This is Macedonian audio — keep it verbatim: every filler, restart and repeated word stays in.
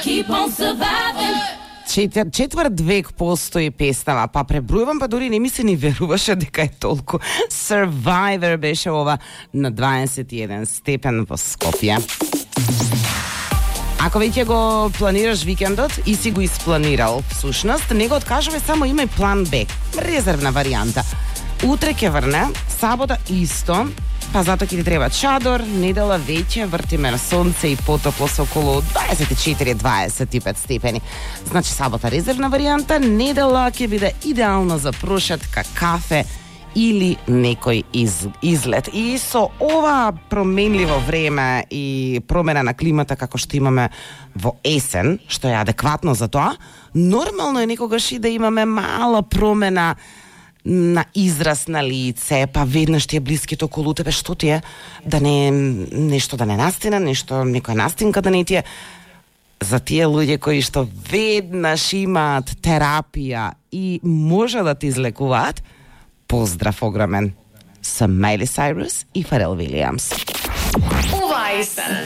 keep on surviving. Четвр, четврт век постои песнава, па пребројувам, па дури не ми се ни веруваше дека е толку. Survivor беше ова на дваесет и еден степен во Скопје. Ако веќе го планираш викендот и си го испланирал, всушност, не го откажуваме, само имај план Б, резервна варијанта. Утре ќе врне, сабота исто, па затоа ќе ти треба чадор, недела веќе вртиме на сонце и потопло со околу дваесет и четири до дваесет и пет степени. Значи сабота резервна варијанта, недела ќе биде идеална за прошетка, кафе или некој из, излет. И со ова променливо време и промена на климата како што имаме во есен, што е адекватно за тоа, нормално е некогаш и да имаме мала промена на израз на лице, па веднаш ти е блиските околу тебе, што ти е, да не нешто да не настина, нешто, некоја настинка да не ти е. За тие луѓе кои што веднаш имаат терапија и може да ти излекуваат, поздрав огромен. Со Майли Сайрус и Фарел Вилијамс. Ова е есен.